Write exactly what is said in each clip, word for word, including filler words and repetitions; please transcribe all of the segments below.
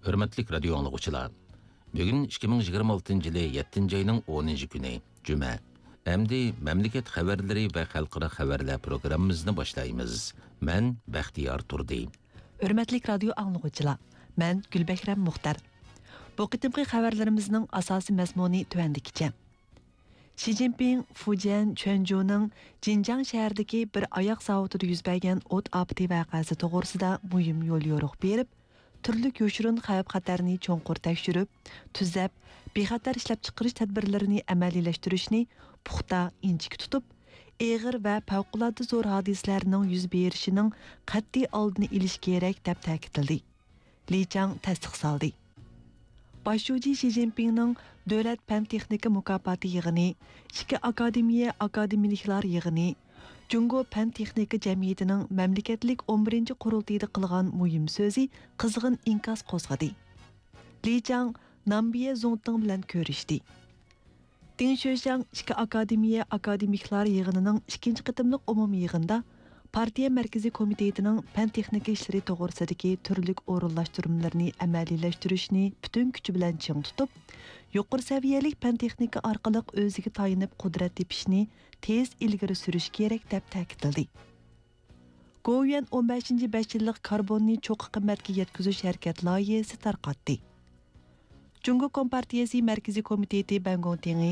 ھۆرمەتلىك رادىيو ئاڭلىغۇچىلار، بۈگۈن ئىككى مىڭ يىگىرمە ئالتىنچى يىلى يەتتىنچى ئاينىڭ ئونىنچى كۈنى، جۈمە. ئەمدى مەملىكەت خەۋەرلىرى ۋە خەلقئارا خەۋەرلەر پروگراممىمىزنى باشلايمىز. مەن بەختىيار تۇردى. ھۆرمەتلىك رادىيو ئاڭلىغۇچىلار، مەن گۈلبەھرەم مۇختەر. بۇ قېتىمقى خەۋەرلىرىمىزنىڭ ئاساسىي مەزمۇنى تۆۋەندىكىچە. شى جىنپىڭ فۇجيەن چۈەنجۇنىڭ جىنجاڭ شەھىرىدىكى بىر ئاياغ زاۋۇتىدا يۈز بەرگەن ئوت ئاپىتى ۋەقەسى توغرىسىدا مۇھىم يوليورۇق بېرىپ، تۈرلۈك يوشۇرۇن خەۋپ-خەتەرنى چوڭقۇر تەكشۈرۈپ، تۈزەپ، بىخەتەر ئىشلەپچىقىرىش تەدبىرلىرىنى ئەمەلىيلەشتۈرۈشنى پۇختا، ئىنچىكە تۇتۇپ، ئېغىر ۋە پەۋقۇلئاددە زور ھادىسىلەرنىڭ يۈز بېرىشىنىڭ قەتئىي ئالدىنى ئېلىش كېرەك، دەپ تەكىتلىدى. لى چاڭ تەستىقلىدى. باش شۇجى شى جىنپىڭنىڭ دۆلەت پەن-تېخنىكا مۇكاپاتى يىغىنى، ئىككى ئاكادېمىيە ئاكادېمىكلار يىغىنى، جۇڭگو پەن-تېخنىكا جەمئىيىتىنىڭ مەملىكەتلىك ئون بىرىنچى قۇرۇلتىيىدا قىلغان مۇھىم سۆزى قىزغىن ئىنكاس قوزغىدى. لى چاڭ نامبىيە زۇڭتىڭ بىلەن كۆرۈشتى. دىڭ شۆشياڭ ئىككى ئاكادېمىيە ئاكادېمىكلار يىغىنىنىڭ ئىككىنچى قېتىملىق ئومۇمىي يىغىنىدا پارتىيە مەركىزىي كومىتېتىنىڭ پەن-تېخنىكا ئىشلىرى توغرىسىدىكى تۈرلۈك ئورۇنلاشتۇرمىلىرىنى ئەمەلىيلەشتۈرۈشنى پۈتۈن كۈچى بىلەن چىڭ تۇتۇپ، يۇقىرى سەۋىيەلىك پەن-تېخنىكا ئارقىلىق ئۆزىگە تايىنىپ قۇدرەت تېپىشنى تېز ئىلگىرى سۈرۈش كېرەك، دەپ تەكىتلىدى. گوۋۇيۈەن ئون بەشىنچى بەش يىللىق كاربوننى چوققا قىممەتكە يەتكۈزۈش ھەرىكەت لايىھەسى تارقاتتى. جۇڭگو كومپارتىيەسى مەركىزىي كومىتېتى بەنگوڭتىڭى،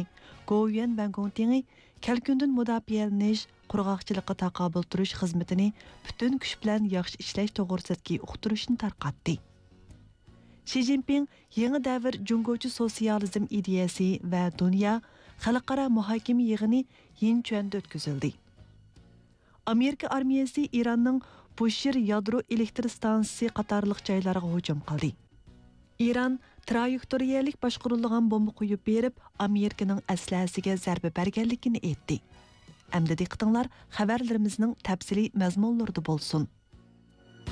گوۋۇيۈەن بەنگوڭتىڭى كەلكۈندىن مۇداپىئەلىنىش، قۇرغاقچىلىققا تاقابىل تۇرۇش خىزمىتىنى پۈتۈن كۈچ بىلەن ياخشى ئىشلەش توغرىسىدىكى ئۇقتۇرۇشنى تارقاتتى. شى جىنپىڭ يېڭى دەۋر جۇڭگوچە سوتسىيالىزم ئىدىيەسى ۋە دۇنيا خەلقئارا مۇھاكىمە يىغىنى يىنچۈەندە ئۆتكۈزۈلدى. ئامېرىكا ئارمىيەسى ئىراننىڭ بۇشىر يادرو ئېلېكتر ستانسىسى قاتارلىق جايلارغا ھۇجۇم قىلدى. ئىران ترايېكتورىيەلىك باشقۇرۇلىدىغان بومبا قويۇپ بېرىپ، ئامېرىكىنىڭ ئەسلىھەسىگە زەربە بەرگەنلىكىنى ئېيتتى. ئەمدى دىققىتىڭلار خەۋەرلىرىمىزنىڭ تەپسىلىي مەزمۇنلىرىدا بولسۇن.